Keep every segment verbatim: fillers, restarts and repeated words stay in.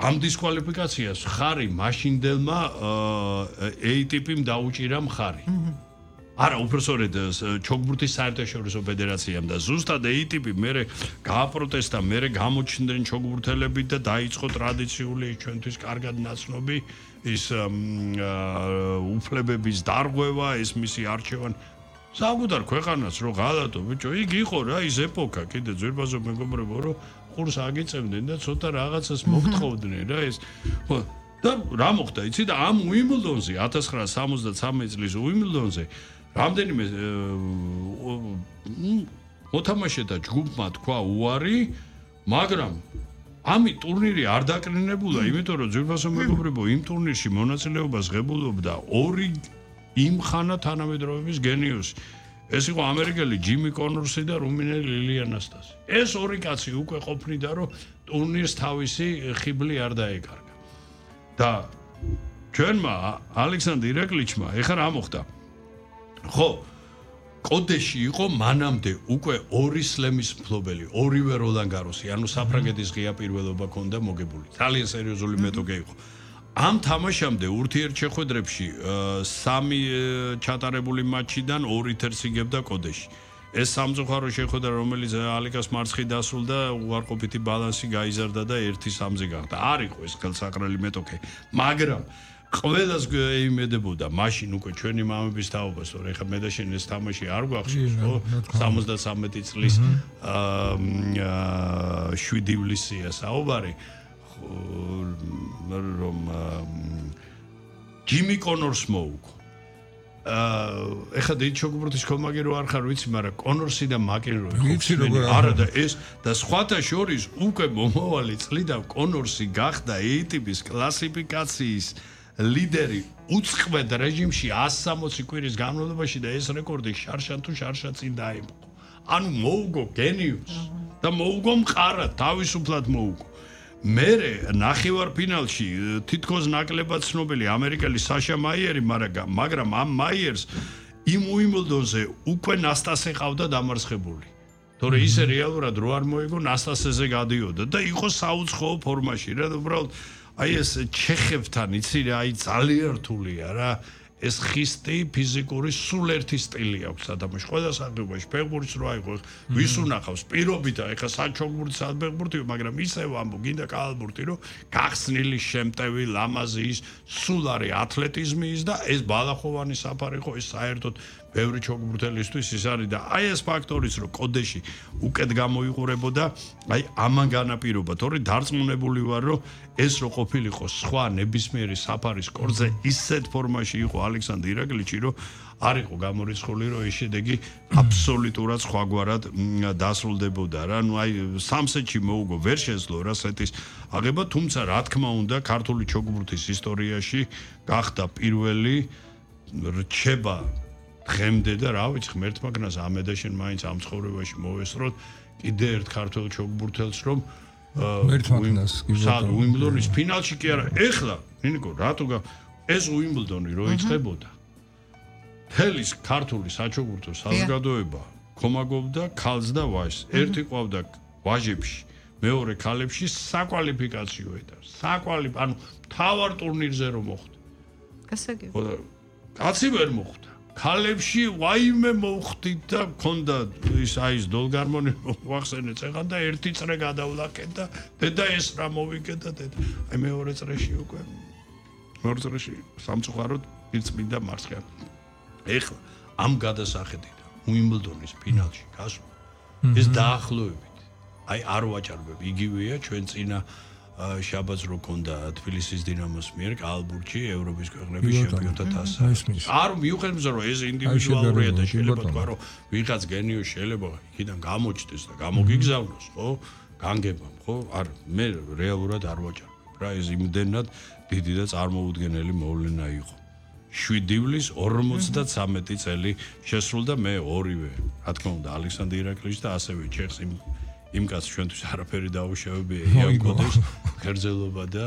ამ დისკვალიფიკაციას ხარი მაშინდელმა A-ტიპიმ დაუჭირა მხარი. არა, უბრალოდ ჩოგბურთის საერთაშორისო ფედერაციამ და ზუსტად A-ტიპი მერე გააპროტესტა, მერე გამოჩნდნენ ჩოგბურთელები და დაიწყო ტრადიციული ჩვენთვის კარგად ნაცნობი ის უფლებების დარღვევა, ეს მისი არჩევანი. საკუთარ ქვეყანას რო ღალატო, ბიჭო, იქ იყო რა ის ეპოქა, კიდე ძვირფასო მეგობრებო, რომ ყურს აგიწევდნენ და ცოტა რაღაცას მოგთხოვდნენ რა ეს. და რა მოხდა, იცი და ამ უიმბლდონზე ათას ცხრაასი სამოცდათრამეტი წლის უიმბლდონზე რამდენიმე მოთამაშეთა ჯგუფმა თქვა უარი, მაგრამ ამი ტურნირი არ დაკრინებულა, იმიტომ რომ ძვირფასო მეგობრებო, იმ ტურნირში მონაწილეობას ღებულობდა ორი იმხანა თანამედროვეების გენიუსი. ეს იყო ამერიკელი ჯიმი კონორსი და რუმინელი ლილი ანასტასი. ეს ორი კაცი უკვე ყოფნიდა, რომ ტურნირს თავისი ხიბლი არ დაეკარგა. და ჩვენმა ალექსანდრ ირაკლიჩმა ეხლა რა მოხდა? ხო, კოდეში იყო მანამდე უკვე ორი სლემის მფლობელი, ორივე როლან გაროსი, ანუ საფრანგეთის ღია პირველობა ჰქონდა მოგებული. ძალიან სერიოზული მეტოქე იყო. ამ თამაშამდე ურთიერთშეხვედრებში სამი ჩატარებული მატჩიდან ორი თერს იგებდა კოდეში. ეს სამწუხარო შეხვედრა, რომელიც ალიკას მარცხი დასრულდა, უარყოფითი ბალანსი გაიზარდა და ერთი სამზე გახდა. არ იყო ეს ხელსაყრელი მეტოქე, მაგრამ ყველას ეიმედებოდა მაშინ უკვე ჩვენი მამების თაობას, რომ ეხა მე და შენ ეს თამაში არ გვახშობს, ხო? სამოცდათრამეტი წლის შვიდი ივლისია საუბარი. რომ ჯიმი კონორს მოუგო. ეხლა დიდი ჩოგბურთის კომაგი რო არ ხარ ვიცი, მაგრამ კონორსი და მაკენროი არა და ეს და სხვათა შორის უკვე მომავალი წლიდან კონორსი გახდა A-ტიპის კლასიფიკაციის ლიდერი უწყლოდ რეჟიმში εκατს სამოცი კვირის განმავლობაში და ეს რეკორდი შარშან თუ შარშა წინ დაემხო. ანუ მოუგო გენიუსს და მოუგო მყარად, თავისუფლად მოუგო. მერე ნახევარფინალში თითქოს ნაკლებად ცნობილი ამერიკელი საშა მაიერი, მაგრამ ამ მაიერს იმ უიმბლდონზე უკვე ნასტასე ყავდა დამარცხებული. თორე ისე რეალურად რო არ მოიგო, ნასტასეზე გადიოდა და იყო საუცხოო ფორმაში რა, უბრალოდ აი ეს ჩეხებთან იცი რა, აი ძალიან რთულია რა. ეს ხისტი ფიზიკური სულ ერთი სტილი აქვს ადამიანს. ყველა სახეობაში ფეხბურთს რო აიღო, ვის უნახავს პირობითა, ეხა საჩოგბურთი, საფეხბურთი, მაგრამ ისევ ამბო, გინდა კალბურთი, რომ გახსნილი, შემტევი, ლამაზი ის სულ არის ათლეტიზმი ის და ეს ბალახოვანი საფარი ხო, ეს საერთოდ ბევრი ჩოგბურთელისთვის ის არის და აი ეს ფაქტორიც რომ კოდეში უკეთ გამოიყურებოდა, აი ამან განაპირობა, თორე დარწმუნებული ვარ, რომ ეს რო ყოფილიყო სხვა ნებისმიერი საფარის კორზე ისეთ ფორმაში იყო ალექსანდრ ირაკლიჩი, რომ არ იყო გამორიცხული, რომ ეს შედეგი აბსოლუტურად სხვაგვარად დასრულდებოდა რა. ნუ აი სამსეტში მოუგო, ვერ შეძლო რა სეტის აღება, თუმცა რა თქმა უნდა, ქართული ჩოგბურთის ისტორიაში გახდა პირველი რჩება დღემდე და რა ვიცი, ღმერთმა გნას ამედა შენ მაინც ამ ცხოვრებაში მოვესწროთ კიდე ერთ ქართულ ჩოგბურთელს, რომ უიმბლდონის ფინალში კი არა, ეხლა, ნინიკო, რატო ეს უიმბლდონი რო იწყებოდა. თელის ქართული საჩოგბურთო საზოგადოება ქომაგობდა ქალს და ვაჟს. ერთი ყავდა ვაჟებში, მეორე ქალებში საკვალიფიკაციო ეტაპს. საკვალიფ, ანუ თავარ ტურნირზე რომ მოხდა. გასაგები. კაცი ვერ მოხდა. ქალებში ვაიმე მოხდით და მქონდა ის აი ეს დოლგარმონი ვახსენე წეღან და ერთი წრე გადავლაკეთ და დედა ეს რა მოვიგე და დედა აი მეორე წრეში უკვე მეორე წრეში სამწუხაროდ პირწმინდა მარცხი. ეხლა ამ გადასახედიდან უიმბლდონის ფინალში გასვლა ეს დაახლოებით აი არ ვაჭარბებ, იგივეა ჩვენ წინა შაბათს რო ქონდა თბილისის დინამოს მიერ კალბურთში ევროპის ქვეყნების ჩემპიონთა თასი. არ მივხვდები რომ ეს ინდივიდუალურია და შეიძლება თქვა რომ ვიღაც გენიო შეიძლება იქიდან გამოჩდეს და გამოგიგზავნოს, ხო? განგებამ, ხო? არ მე რეალურად არ ვაჭარბებ რა, ეს იმდენად დიდი და წარმოუდგენელი მოვლენა იყო. შვიდი ივლისს ორმოცდათრამეტი წელი შესრულდა მე ორივე, რა თქმა უნდა, ალექსანდრ ირაკლიჩს და ასევე ჩეხს იმ იმ კაც ჩვენთვის არაფერი დაუშავებია იან კოდეს ქერძელობა და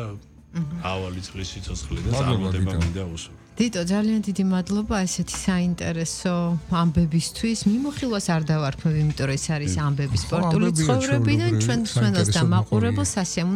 ავალი წლის სიცოცხლე და წარმატება მინდა უსურვო. დიტო, ძალიან დიდი მადლობა ესეთი საინტერესო ამბებისთვის. მიმოხილვას არ დავარქმევ, იმიტომ რომ ეს არის ამბები სპორტული ცხოვრებიდან, ჩვენ მსმენელს და მაყურებელს სასიამოვნო